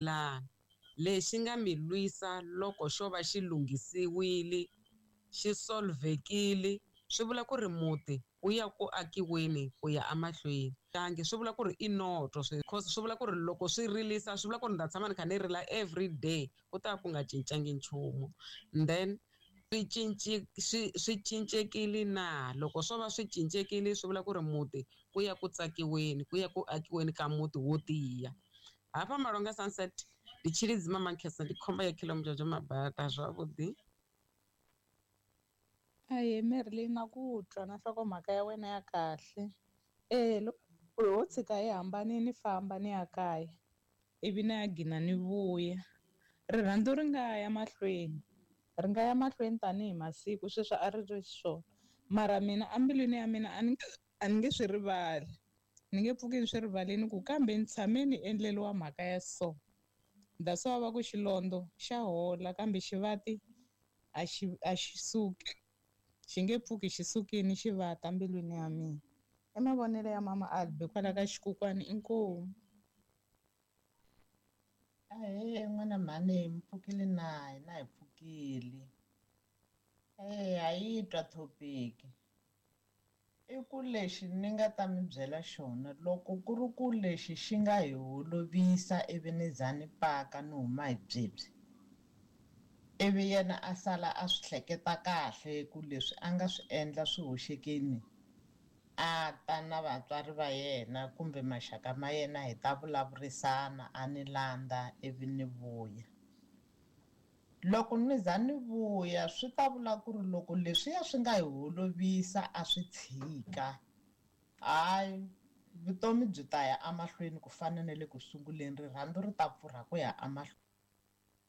Lana lexi nga mi lwisa loko xo va xi lunghisiwile xi solvekile swi vula ku ri muti wu ya ku akiweni ku ya emahlweni. Tangi swi vula ku ri i noto cause swi vula ku ri loko swi rilisa swi vula ku ri ni ta tshama ni kha ni rila everyday ku ta va ku nga cincangi nchumu. Then swi cinci swi swi cincekile na loko swo va swi cincekile swi vula ku ri muti ku ya ku tsakiweni ku ya ku akiweni ka muti wo tiya. Hafha Malonga Sunset ndi Tshilidzi Mamakhesa ndi khomba ya Khilomudzhodzho Mabata zwavhuḓi. Ahee Marilyn na ku twa na nhlokomhaka ya wena ya kahle. Eya loko ho tshika hi hambanile ni famba ni ya kaya ivi ni ya gina ni vuya rirhandzu ri nga ya mahlweni ri nga ya mahlweni tanihi masiku sweswi a ri ri xiswona mara mina embilwini ya mina a ni a ni nge swi rivali ni nge pfuki ni swi rivalini ku kambe ni tshame ni endleriwa mhaka ya so that's why va ku xilondza xa hola kambe xivati a xi a xi suki xi nge pfuki xi sukile xi vata mbilwini ya mina i mavonelo ya mama Albi kwala ka xikukwani inkomu. Ahee n'wana mhani mi pfukile na hina hi pfukile eya ha yi twa topic i ku lexi ni nga ta mi byela xona loko ku ri ku lexi xi nga hi holovisa ivi ni za ni paka ni huma hi byebyi ivi yena a sala a swi hleketa kahle ku leswi a nga swi endla swi hoxekini a ta na vatswari va yena kumbe maxaka ma yena hi ta vulavurisana a ni landza ivi ni vuya. Loko ni za ni vuya swi ta vula ku ri loko leswiya swi nga hi holovisa a swi tshika hayi vutomi byi ta ya emahlweni ku fana na le ku sunguleni rirhandzu ri ta pfurha ku ya emahlweni.